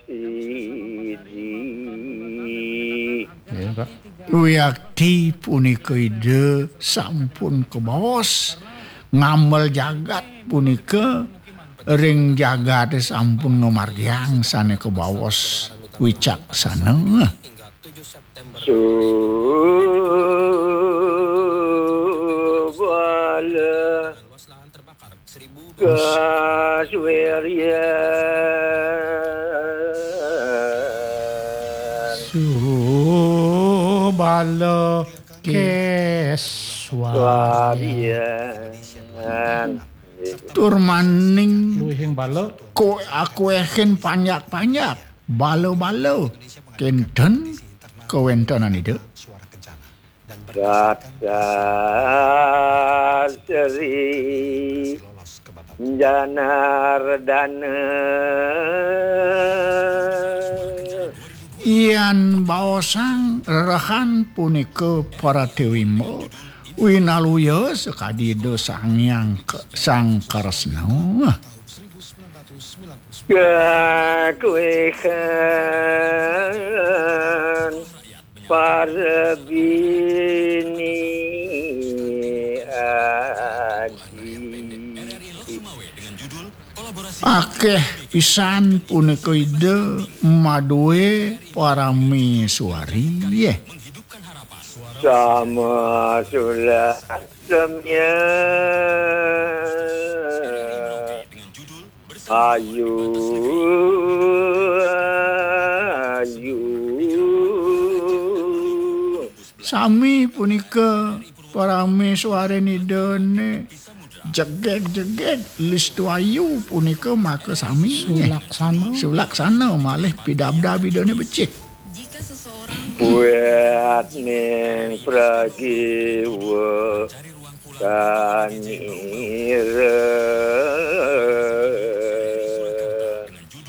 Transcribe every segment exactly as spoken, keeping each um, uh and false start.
Sidi. Ya, Pak. Wiakti punika Ida sampun kabaos ngamel jagat punika ring jagate sampun ngamargiang sane kabaos wicaksana. Subala Kaswerian. Subala Keswarian. Warian. Tur maning luihing bala. Ko akuehin panjak-panjak, bala-bala. Kenten kawentenan Ida. Dasar Sri Janardana. Yan baosang rerehan punika para Dewi Mba, winaluya sakadi Ida Sang Hyang Ke-, Sang Kresna. Kakuehan para bini adi. Akeh pisan punika Ida madue parameswari, nggih. Sama sulah semya. Ayu, ayu. Sami punika parameswarin Idane. Jegeg-jegeg, listu ayu punika maka sami. Sulaksana. Sulaksana malih pidabdab Idane becik. Buat ning pragiwa kanira.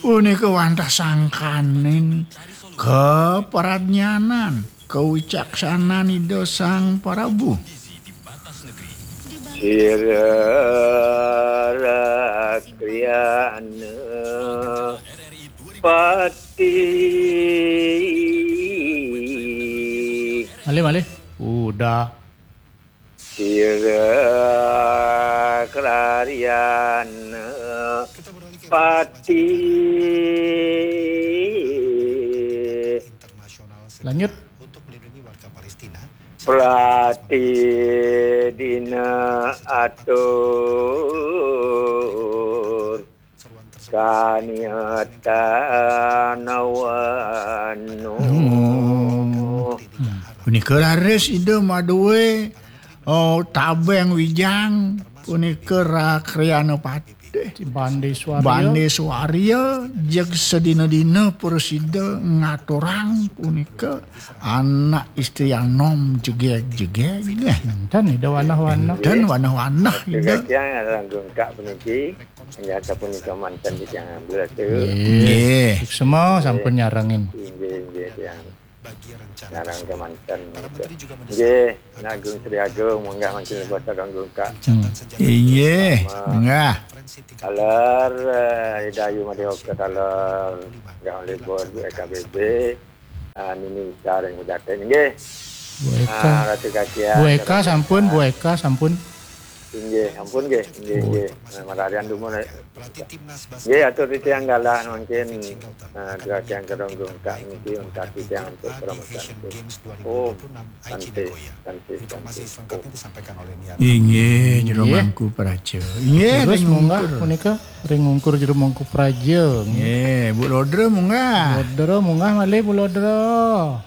Punika wantah sangkaning kapradnyanan, kawicaksanan Ida Sang Prabu. Sira rakriyana pati. Malih, malih. Udah. Sira kraryan pati. Lanjut. Prati dina atur kaniatan wanu. Hmm. Punika raris Ida madue, oh, tabeng wijang, punika rakriyana patih. Bande Swarya. Bande Swarya, jeg sedina-dina prasida ngaturang punika anak istri anom jegeg-jegeg. Enten Ida wanah-wanah. Enten wanah-wanah Ida. Kang Agung Kak puniki. Inggih sapunika manten titiang belas. Nggih. Nggih. Suksma sampun nyarengin. Inggih, inggih, tiang. Nyareng kemanten. Nggih, Agung Sri Agung, munggah mangkin kuasa Agung Kak. Hmm. Inggih, munggah. Taler, eh, Ida Ayu Madya Oka taler. Munggah olih bos, Bu E K B B. Ah, nini sareng udaten nggih. Bu Eka. Ah, Ratu Kacian, Bu Eka Ratu sampun, Kacian. Bu Eka sampun. Inggih, ampun nggih, inggih, Bu. Nggih. Nah, mararian dumun, eh. Nggih, atur titiang galah mangkin, eh, Kacian Kedong Gungkak niki untat titiang untuk promosi. Oh, santi, santi, santi. Inggih, Jero Mangku Praja. Inggih, terus ring munggah ngungkur. Punika. Ring ungkur Jero Mangku Praja. Nggih, Bu Lodra munggah. Lodra munggah malih, Bu Lodra.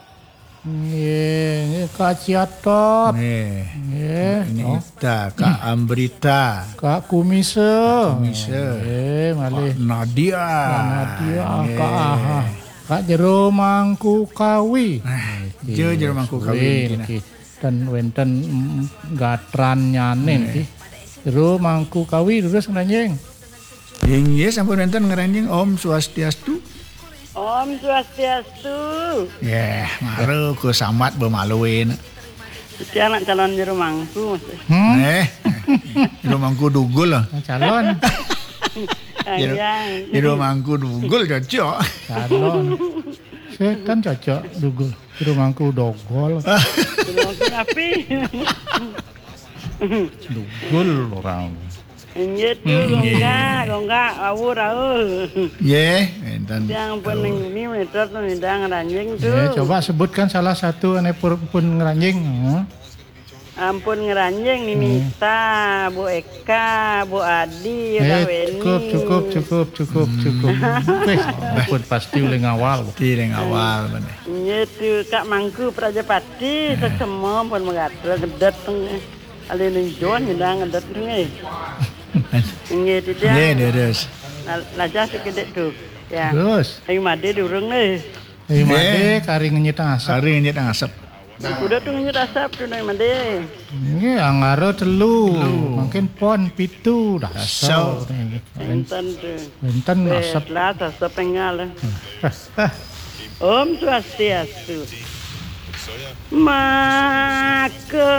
Nggih, nggih, Kak Ciatot. Nggih. Nggih, ini oh. Ita, Kak Ambrita. Kak Kumisa. Kak Kumisa. Nggih, malih. Kak Nadia. Kak Nadia, nggih. Kak Aha. Kak Jero Mangku Kawi. Nah, nggih, Jero Mangku Kawi nggih, niki, nah. Nggih. Ten wenten, mm, gatrannyane nggih. Nggih. Jero Mangku Kawi, durus ngranjing. Inggih, sampun wenten ngranjing. Om Swastiastu. Om Swastiastu. Yeh, mara ku sambat bemaluin. Titiang nak calon Jero Mangku, Mas. Hmm? Eh, Jero Mangku Dugul lah. Calon. Ira mangku dugul cocok. Calon. Saya kan cocok dugul. Ira mangku dogol. Ira mangku api. Dugul orang. Inggih tu, hmm, gonggak, gonggak, awu, awu. Nggih, enten. Yang pun ini meter tu, nidang ranjing tu. Nggih, coba sebutkan salah satu ane pur-, pun ngeranjing. Hmm. Ampun ngeranjing, Nini Ista, Bu Eka, Bu Adi, eh, Weni. Cukup, cukup, cukup, cukup, hmm, cukup. Weh, ampun, pasti oleh ngawal. Pasti oleh ngawal, bener. Iya tu, Kak Mangku Prajapati, eh, sesemo pun megatra gedet tu. Ale ninjon nidang gedet tu, eh. Nggih, tu dia. Nggih, terus. Lajah sekedek tu. Ya. Terus. Ayo made durung, eh. Ayo made, kari ngenyit asap. Kari ngenyit asap. Kuda tu ngenyit asap tu nang made. Nggih, anggara telu. Telu. Mungkin pon pitu dah. Asap. Enten tu. Enten asap. Lah, asap pengal. Om Swastiastu. Maka